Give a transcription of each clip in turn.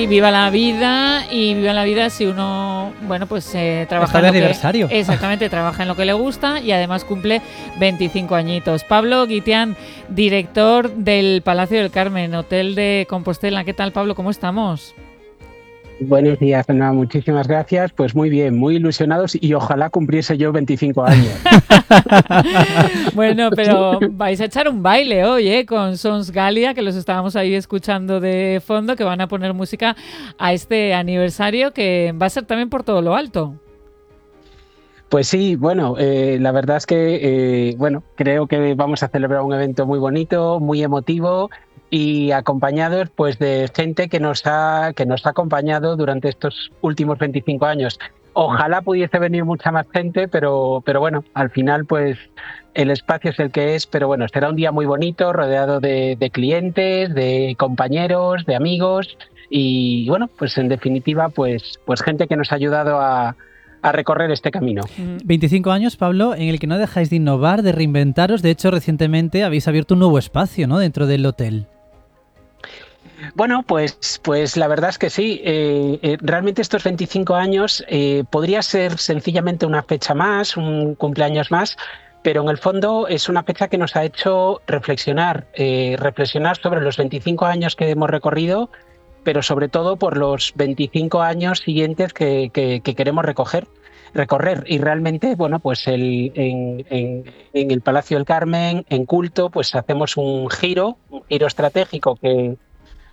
Y viva la vida si uno, bueno, pues trabaja en aniversario. Exactamente, trabaja en lo que le gusta y además cumple 25 añitos. Pablo Guitián, director del Palacio del Carmen, Hotel de Compostela. ¿Qué tal, Pablo? ¿Cómo estamos? Buenos días, Ana. Muchísimas gracias. Pues muy bien, muy ilusionados y ojalá cumpliese yo 25 años. Bueno, pero vais a echar un baile hoy, con Sons Galia, que los estábamos ahí escuchando de fondo, que van a poner música a este aniversario que va a ser también por todo lo alto. Pues sí, bueno, la verdad es que, creo que vamos a celebrar un evento muy bonito, muy emotivo y acompañados pues de gente que nos ha acompañado durante estos últimos 25 años. Ojalá pudiese venir mucha más gente, pero bueno, al final pues el espacio es el que es, pero bueno, será un día muy bonito, rodeado de clientes, de compañeros, de amigos y bueno, pues en definitiva pues gente que nos ha ayudado a recorrer este camino. 25 años, Pablo, en el que no dejáis de innovar, de reinventaros. De hecho, recientemente habéis abierto un nuevo espacio, ¿no?, dentro del hotel. Bueno, pues la verdad es que sí. Realmente estos 25 años podría ser sencillamente una fecha más, un cumpleaños más, pero en el fondo es una fecha que nos ha hecho reflexionar sobre los 25 años que hemos recorrido, pero sobre todo por los 25 años siguientes que queremos recorrer. Y realmente, bueno, pues en el Palacio del Carmen, en Culto, pues hacemos un giro estratégico que,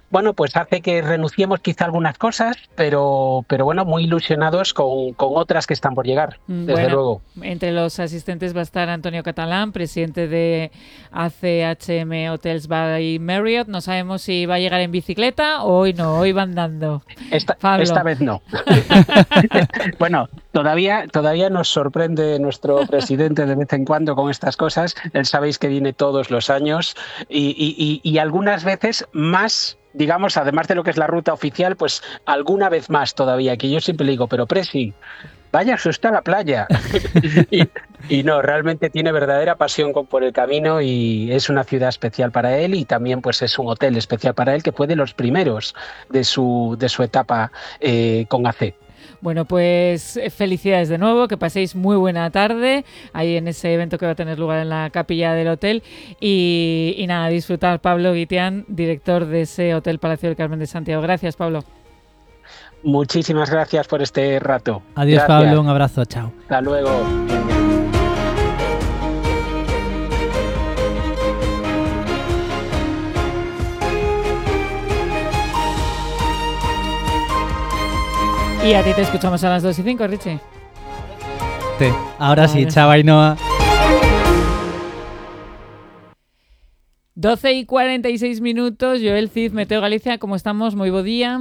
bueno, pues hace que renunciemos quizá a algunas cosas, pero bueno, muy ilusionados con otras que están por llegar, desde luego. Entre los asistentes va a estar Antonio Catalán, presidente de ACHM Hotels by Marriott. No sabemos si va a llegar en bicicleta o hoy no, hoy va andando. Esta vez no. Bueno, todavía nos sorprende nuestro presidente de vez en cuando con estas cosas. Él sabéis que viene todos los años y algunas veces más, digamos, además de lo que es la ruta oficial, pues alguna vez más todavía, que yo siempre le digo, pero Presi, váyase usted a la playa. y no, realmente tiene verdadera pasión por el camino y es una ciudad especial para él y también pues es un hotel especial para él que fue de los primeros de su etapa con AC. Bueno, pues felicidades de nuevo, que paséis muy buena tarde ahí en ese evento que va a tener lugar en la capilla del hotel y nada, disfrutar. Pablo Guitián, director de ese Hotel Palacio del Carmen de Santiago. Gracias, Pablo. Muchísimas gracias por este rato. Adiós, gracias. Pablo, un abrazo, chao. Hasta luego. Y a ti te escuchamos a las 2:05, Richie. Sí, ahora sí, chao, Ainhoa. 12:46. Joel Cid, Meteo Galicia, ¿cómo estamos? Moi bo día.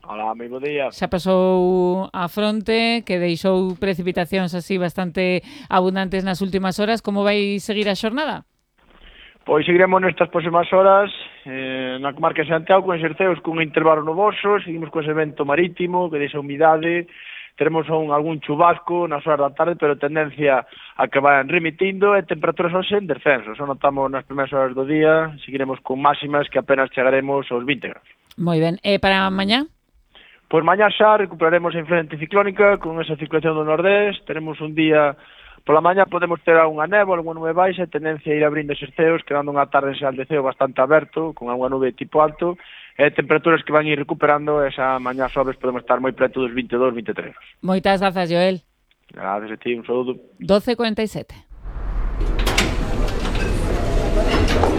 Hola, moi bo día. Xa pasou a fronte, que deixou precipitacións así bastante abundantes nas últimas horas. Como vai seguir a xornada? Pois seguiremos nestas próximas horas na comarca de Santiago con exerceos cun intervalo nuboso, seguimos con ese vento marítimo que deixa humidade, teremos algún chubasco nas horas da tarde, pero tendencia a que vayan remitindo e temperaturas hoxe en descenso. Só notamos nas primeiras horas do día, seguiremos con máximas que apenas chegaremos aos 20 graus. Moi ben. E para mañá? Pois mañá xa recuperaremos a influencia anticiclónica con esa circulación do nordés, teremos un día. Pola mañá podemos ter unha néboa, unha nube baixa, tendencia a ir abrindo exerceos, quedando unha tarde en Saldeceo bastante aberto, con unha nube tipo alto, e temperaturas que van ir recuperando, esa mañá sobres podemos estar moi preto dos 22, 23. Moitas grazas, Joel. Gracias a ti, un saludo. 12:47.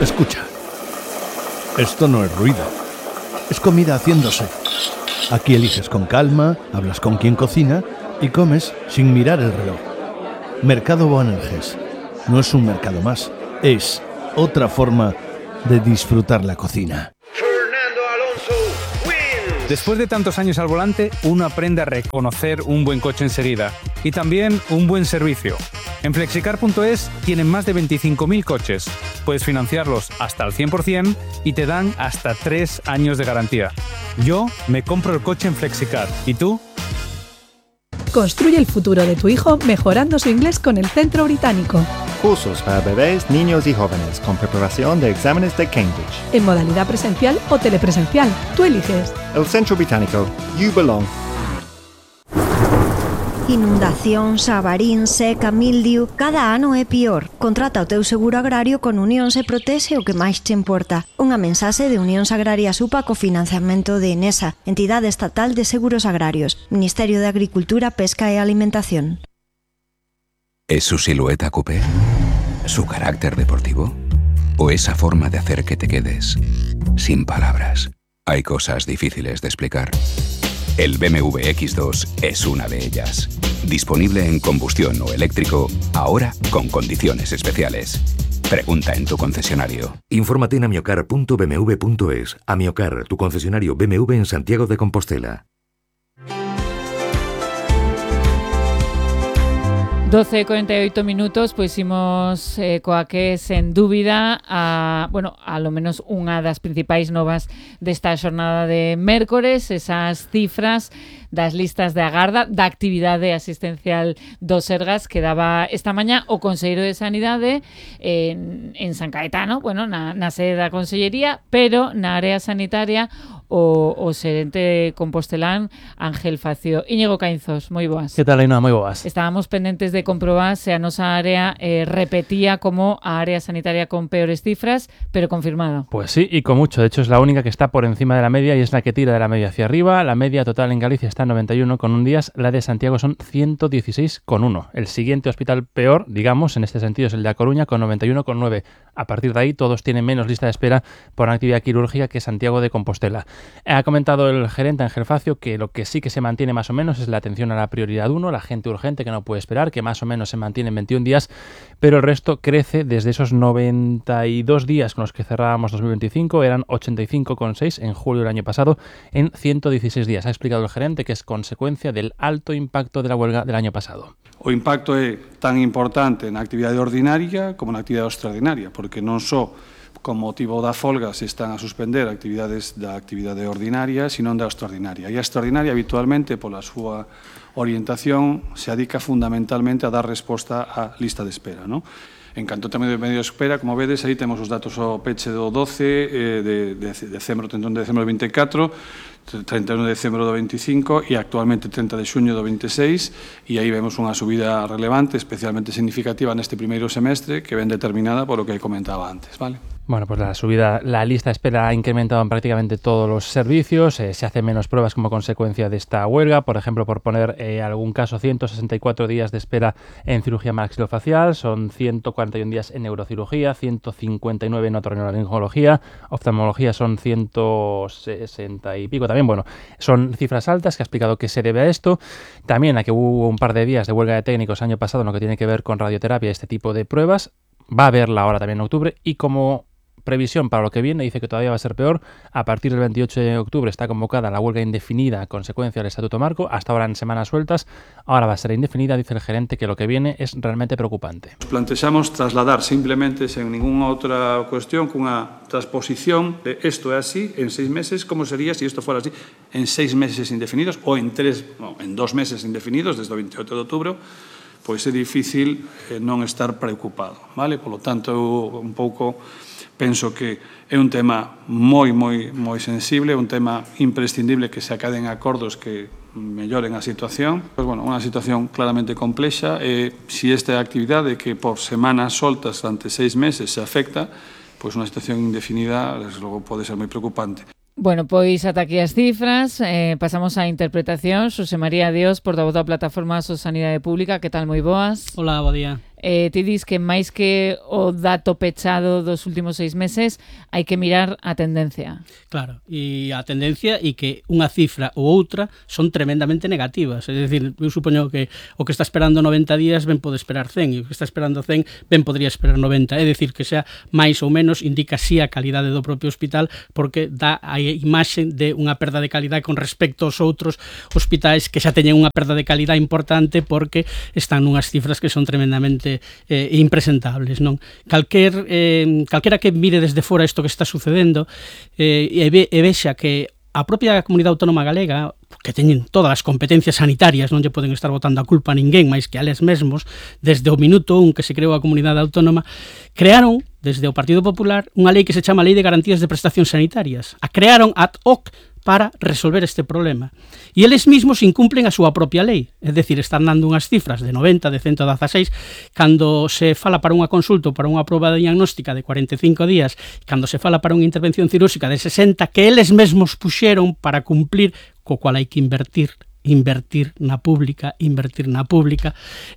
Escucha, esto no es ruido, es comida haciéndose. Aquí eliges con calma, hablas con quien cocina y comes sin mirar el reloj. Mercado Boanerges no es un mercado más, es otra forma de disfrutar la cocina. Fernando Alonso wins. Después de tantos años al volante, uno aprende a reconocer un buen coche enseguida y también un buen servicio. En Flexicar.es tienen más de 25.000 coches. Puedes financiarlos hasta al 100% y te dan hasta 3 años de garantía. Yo me compro el coche en Flexicar. ¿Y tú? Construye el futuro de tu hijo mejorando su inglés con el Centro Británico. cursos para bebés, niños y jóvenes con preparación de exámenes de Cambridge. En modalidad presencial o telepresencial, tú eliges. El Centro Británico, you belong. Inundacións, avarín, seca, mildiu, cada ano é pior. Contrata o teu seguro agrario con Unións e protexe o que máis te importa. Unha mensaxe de Unións Agrarias UPA co financiamento de Enesa, Entidade Estatal de Seguros Agrarios, Ministerio de Agricultura, Pesca e Alimentación. ¿Es su silueta coupé? ¿Su carácter deportivo? ¿O esa forma de hacer que te quedes sin palabras? Hay cosas difíciles de explicar. El BMW X2 es una de ellas. Disponible en combustión o eléctrico, ahora con condiciones especiales. Pregunta en tu concesionario. Infórmate en amiocar.bmw.es. Amiocar, tu concesionario BMW en Santiago de Compostela. 12:48 minutos, pois imos coa que sen dúbida a lo menos unha das principais novas desta xornada de mércores, esas cifras das listas de agarda da actividade asistencial do Sergas que daba esta mañá o Conselleiro de Sanidade en San Caetano, na sede da Consellería, pero na área sanitaria o xerente compostelán Ángel Facio. Íñigo Caínzos, moi boas. Que tal, Ainhoa? Moi boas. Estábamos pendentes de comprobar se a nosa área repetía como a área sanitaria con peores cifras, pero confirmado. Pues sí, y con mucho. De hecho, es la única que está por encima de la media y es la que tira de la media hacia arriba. La media total en Galicia está en 91,1 días, la de Santiago son 116,1. El siguiente hospital peor, digamos, en este sentido es el de A Coruña con 91,9. A partir de ahí todos tienen menos lista de espera por una actividad quirúrgica que Santiago de Compostela. Ha comentado el gerente Ángel Facio que lo que sí que se mantiene más o menos es la atención a la prioridad 1, la gente urgente que no puede esperar, que más o menos se mantiene en 21 días, pero el resto crece desde esos 92 días con los que cerrábamos 2025, eran 85,6 en julio del año pasado, en 116 días. Ha explicado el gerente que es consecuencia del alto impacto de la huelga del año pasado. O impacto é tan importante na actividade ordinaria como na actividade extraordinaria, porque non só con motivo da folga se están a suspender actividades da actividade ordinaria, sino da extraordinaria. E a extraordinaria, habitualmente, pola súa orientación, se adica fundamentalmente a dar resposta á lista de espera, non? En canto ao tema de medio de espera, como vedes, aí temos os datos ao peche do 12 de decembro, 31 de decembro do 24, 31 de decembro do 25 e actualmente 30 de xuño do 26, e aí vemos unha subida relevante, especialmente significativa neste primeiro semestre, que ven determinada por o que comentaba antes, vale? Bueno, pues la lista de espera ha incrementado en prácticamente todos los servicios, se hacen menos pruebas como consecuencia de esta huelga, por ejemplo, por poner algún caso, 164 días de espera en cirugía maxilofacial, son 141 días en neurocirugía, 159 en otorrinolaringología, oftalmología son 160 y pico también, son cifras altas que ha explicado que se debe a esto, también a que hubo un par de días de huelga de técnicos año pasado en lo que tiene que ver con radioterapia y este tipo de pruebas, va a haberla ahora también en octubre y como previsión para lo que viene, dice que todavía va a ser peor. A partir del 28 de octubre está convocada la huelga indefinida a consecuencia del Estatuto Marco, hasta ahora en semanas sueltas, ahora va a ser indefinida, dice el gerente que lo que viene es realmente preocupante. Plantexamos trasladar simplemente, sen ninguna outra cuestión, cunha transposición de isto é así, en 6 meses, como sería se isto fuera así, en 6 meses indefinidos ou en 2 meses indefinidos, desde o 28 de outubro, pois é difícil non estar preocupado, vale? Polo tanto, eu un pouco penso que é un tema moi sensible, un tema imprescindible que se acaden acordos que melloren a situación. Pois, unha situación claramente complexa e se esta actividade que por semanas soltas durante 6 meses se afecta, pois unha situación indefinida, desde logo, pode ser moi preocupante. Bueno, pois ata aquí as cifras, pasamos á interpretación. Xosé María Dios, portavoz da Plataforma So Sanidade Pública, que tal, moi boas? Hola, bo día. Ti dis que máis que o dato pechado dos últimos 6 meses hai que mirar a tendencia. Claro, e a tendencia e que unha cifra ou outra son tremendamente negativas. É dicir, eu supoño que o que está esperando 90 días ben pode esperar 100 e o que está esperando 100 ben podría esperar 90. É dicir, que sea máis ou menos indica si a calidade do propio hospital porque dá a imaxe de unha perda de calidade con respecto aos outros hospitais que xa teñen unha perda de calidade importante porque están nunhas cifras que son tremendamente impresentables, non? Calquera que mire desde fora isto que está sucedendo e vexa que a propia Comunidade Autónoma Galega, que teñen todas as competencias sanitarias, non lle poden estar botando a culpa a ninguén máis que a eles mesmos, desde o minuto 1 que se creou a Comunidade Autónoma, crearon, desde o Partido Popular, unha lei que se chama Lei de Garantías de Prestacións Sanitarias. A crearon ad hoc para resolver este problema. E eles mesmos incumplen a súa propia lei, é dicir, están dando unhas cifras de 90, de 116, cando se fala para unha consulta ou para unha proba diagnóstica de 45 días, cando se fala para unha intervención cirúrxica de 60, que eles mesmos puxeron para cumplir, co cual hai que invertir na pública,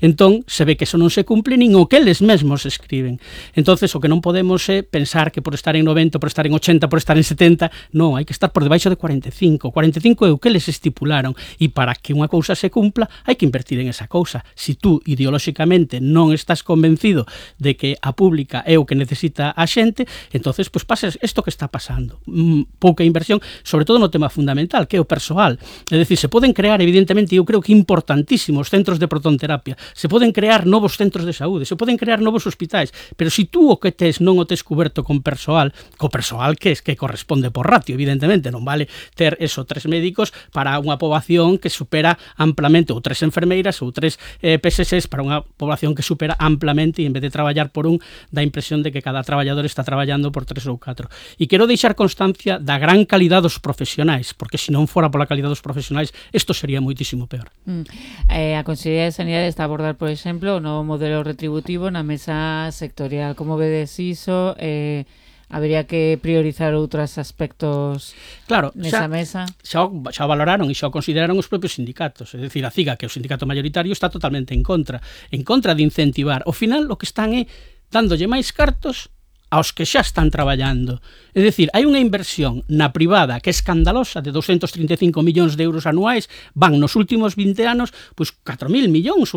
entón se ve que eso non se cumple nin o que eles mesmos escriben. Entonces o que non podemos é pensar que por estar en 90, por estar en 80, por estar en 70, non, hai que estar por debaixo de 45. 45 é o que eles estipularon, e para que unha cousa se cumpla hai que invertir en esa cousa. Si tú ideolóxicamente non estás convencido de que a pública é o que necesita a xente, entonces pues pases isto que está pasando, pouca inversión, sobre todo no tema fundamental, que é o persoal. É dicir, se poden crear, evidentemente, eu creo que importantísimos centros de protonterapia, se poden crear novos centros de saúde, se poden crear novos hospitais, pero se tú o que tes non o tes cuberto con persoal, co persoal que corresponde por ratio, evidentemente, non vale ter eso 3 médicos para unha poboación que supera amplamente, ou 3 enfermeiras ou 3 PSSs para unha poboación que supera amplamente, e en vez de traballar por un, dá impresión de que cada traballador está traballando por 3 ou 4. E quero deixar constancia da gran calidad dos profesionais, porque se non fora pola calidad dos profesionais, isto sería moitísimo peor. A Consellería de Sanidade está a abordar, por exemplo, o novo modelo retributivo na mesa sectorial. Como vedes iso? Habería que priorizar outros aspectos nesa mesa? Xa o valoraron e xa o consideraron os propios sindicatos. É dicir, a CIGA, que é o sindicato mayoritario, está totalmente en contra de incentivar. Ao final, o que están é dándolle máis cartos aos que xa están traballando. É dicir, hai unha inversión na privada que é escandalosa, de 235 millóns de euros anuais, van nos últimos 20 anos, pois 4.000 millóns,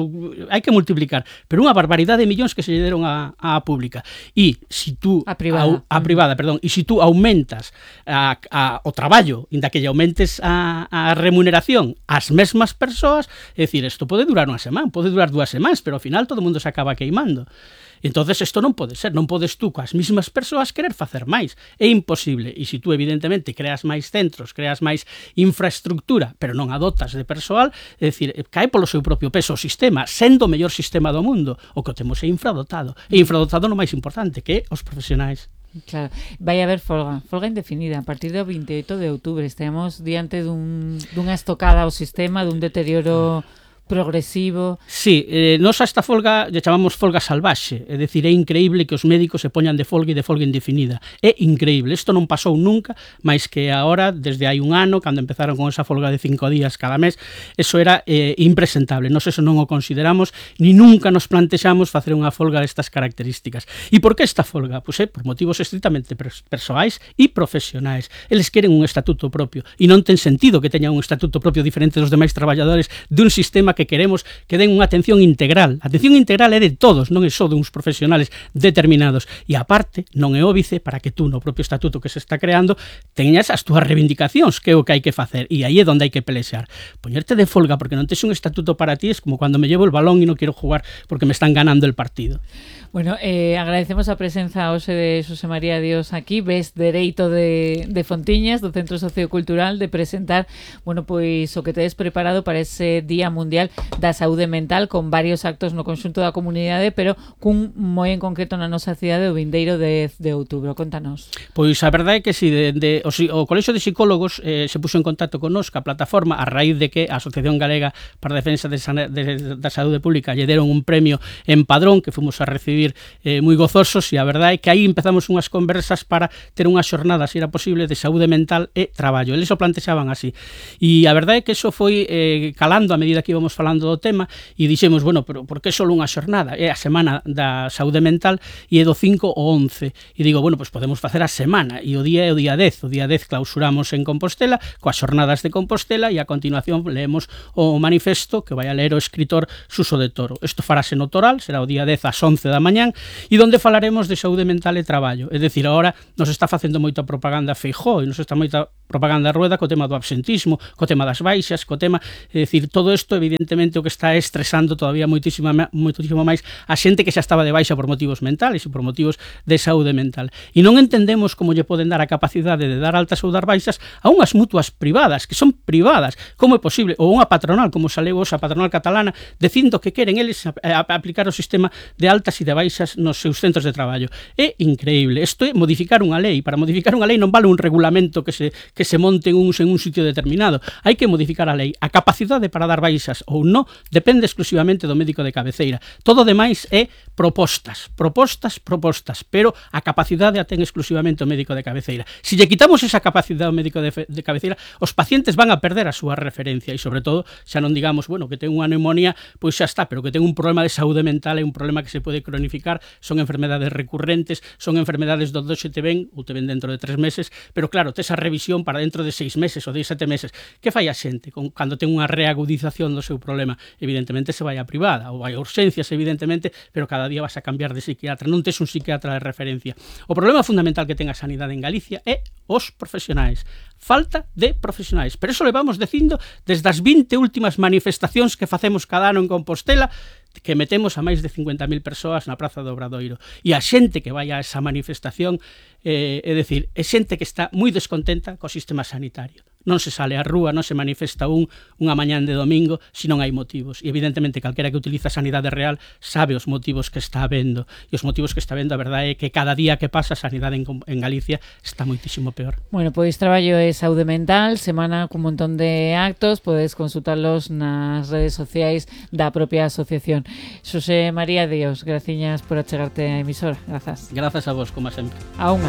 hai que multiplicar, pero unha barbaridade de millóns que se lle deron á pública. E se tú a privada, e se tú aumentas o traballo, inda que lle aumentes a remuneración ás mesmas persoas, é dicir, isto pode durar unha semana, pode durar 2 semanas, pero ao final todo o mundo se acaba queimando. Entonces isto non pode ser, non podes tú coas mesmas persoas querer facer máis, é imposible. E se tú evidentemente creas máis centros, creas máis infraestructura, pero non a dotas de persoal, é dicir, cae polo seu propio peso o sistema, sendo o mellor sistema do mundo. O que temos é infradotado, e infradotado no máis importante, que é os profesionais. Claro, vai haber folga indefinida a partir do 28 de outubro. Estamos diante dunha estocada ao sistema, dun deterioro progresivo. Sí, nos a esta folga lle chamamos folga salvaxe, é dicir, é increíble que os médicos se poñan de folga e de folga indefinida. É increíble, isto non pasou nunca, máis que agora, desde hai un ano, cando empezaron con esa folga de 5 días cada mes, eso era impresentable. Nos eso non o consideramos, ni nunca nos plantexamos facer unha folga destas características. E por que esta folga? Pois por motivos estritamente persoais e profesionais. Eles queren un estatuto propio, e non ten sentido que teñan un estatuto propio diferente dos demais traballadores dun sistema que queremos que den unha atención integral. A atención integral é de todos, non é só duns profesionales determinados. E aparte, non é óbice para que tú no propio estatuto que se está creando teñas as túas reivindicacións, que é o que hai que facer. E aí é onde hai que pelexar. Poñerte de folga porque non tes un estatuto para ti é como cando me llevo el balón e non quero jugar porque me están ganando el partido. Bueno, agradecemos a presenza hoxe de Xosé María Dios aquí, ves dereito de Fontiñas, do Centro Sociocultural, de presentar, bueno, pois o que tedes preparado para ese Día Mundial da Saúde Mental, con varios actos no conxunto da comunidade, pero cun moi en concreto na nosa cidade o vindeiro de outubro. Contanos. Pois a verdade é que si, o Colexio de Psicólogos se puxo en contacto con nos, ca plataforma, a raíz de que a Asociación Galega para a Defensa da Saúde Pública lle deron un premio en Padrón, que fomos a recibir moi gozosos, e a verdade é que aí empezamos unhas conversas para ter unhas xornadas, se era posible, de saúde mental e traballo. Eles o plantexaban así. E a verdade é que eso foi calando a medida que íbamos falando do tema, e dixemos, bueno, pero por que só unha xornada? É a Semana da Saúde Mental e é do 5 ao 11. E digo, bueno, pois podemos facer a semana, e o día é o día 10. O día 10 clausuramos en Compostela, coas xornadas de Compostela, e a continuación leemos o manifesto que vai a ler o escritor Suso de Toro. Isto farase no Toral, será o día 10 ás 11 da mañán, e donde falaremos de saúde mental e traballo. É dicir, agora nos está facendo moita propaganda Feijóo e nos está moita propaganda Rueda co tema do absentismo, co tema das baixas, co tema, é dicir, todo isto evidentemente o que está estresando todavía moitísimo máis a xente que xa estaba de baixa por motivos mentales e por motivos de saúde mental. E non entendemos como lle poden dar a capacidade de dar altas ou dar baixas a unhas mutuas privadas, que son privadas. Como é posible? Ou unha patronal, como saleu a patronal catalana, dicindo que queren eles aplicar o sistema de altas e de baixas nos seus centros de traballo. É increíble. Isto é modificar unha lei. Para modificar unha lei non vale un regulamento que se monte en un sitio determinado. Hai que modificar a lei. A capacidade para dar baixas ou non depende exclusivamente do médico de cabeceira. Todo demais é propostas, pero a capacidade a ten exclusivamente o médico de cabeceira. Se lle quitamos esa capacidade ao médico de cabeceira, os pacientes van a perder a súa referencia e, sobre todo, xa non digamos, bueno, que ten unha neumonía, pois xa está, pero que ten un problema de saúde mental, é un problema que se pode cronificar, son enfermedades recurrentes, son enfermedades donde xe te ven, ou te ven dentro de 3 meses, pero claro, tes a revisión para dentro de 6 meses ou de 7 meses. Que fai a xente cando ten unha reagudización do seu problema? Evidentemente se vai a privada, ou vai a urxencias, evidentemente, pero cada día vas a cambiar de psiquiatra, non tes un psiquiatra de referencia. O problema fundamental que ten a sanidade en Galicia é os profesionais. Falta de profesionais. Pero eso levamos dicindo desde as 20 últimas manifestacións que facemos cada ano en Compostela, que metemos a máis de 50.000 persoas na Praza do Obradoiro. E a xente que vai a esa manifestación, é dicir, é xente que está moi descontenta co sistema sanitario. Non se sale á rúa, non se manifesta unha mañán de domingo se non hai motivos. E evidentemente calquera que utiliza a sanidade real sabe os motivos que está habendo. E os motivos que está habendo, a verdade é que cada día que pasa a sanidade en Galicia está moitísimo peor. Bueno, pois traballo é saúde mental, semana cun montón de actos, podes consultarlos nas redes sociais da propia asociación. Xosé María Dios, graciñas por achegarte á emisora. Grazas. Grazas a vos, como sempre. A unha.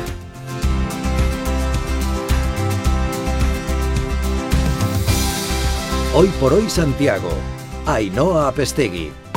Hoy por hoy Santiago, Ainhoa Apestegui.